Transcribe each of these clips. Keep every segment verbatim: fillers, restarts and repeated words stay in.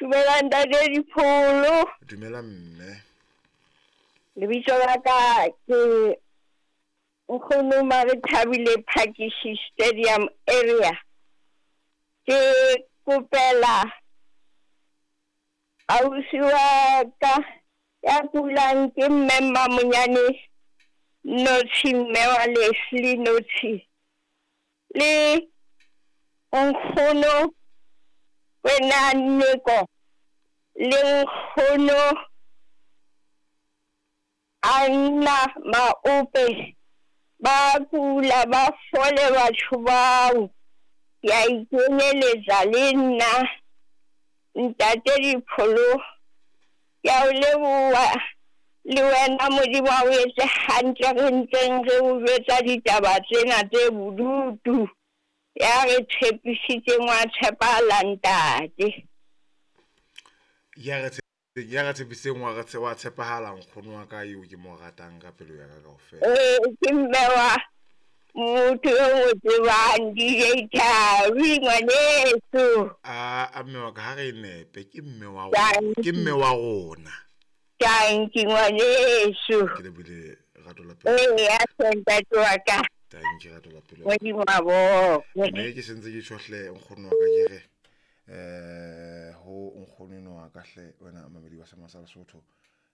Dumela ntate Dipholo. Dumela mme. Lebitso la ka ke Nkgono Marethabile Phakisi Stadium area. Ke kopela ausi wa ka ya kulang ke mme Mmamonyane Notshi, mme wa Leslie Notshi, le nkgono wena Nneko, le nkgono Anna Maope, ba kula ba fole batho bao. Ke a ikenyeletsa le nna ntate Dipholo, ke a o leboha le wena Modimo a o etse hantle re ntseng re o jwetsa ditaba tsena tse bodutu. Ya re tshepisitseng wa tshepahala ntate. Ya re ya re tshepisitseng wa re wa tshepahala nkgono wa ka eo ke mo ratang ka pelo ya ka kaofela. Ee, ke mme wa motho eo mo tsebang D J Thabi ngwaneso. A a mme wa ka, ha re nepe, ke mme wa rona, ke mme wa rona. Tanki ngwaneso. Ke lebohile rato la pelo. Ee, ya ntate wa ka. Tanki rato la pelo. Modimo a bokwe. Mme ke sentse ke tjho hle nkgono wa ka, ke re eh ho nkgono eno wa ka hle, wena mamedi wa Sema sa Lesotho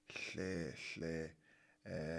hle hle eh.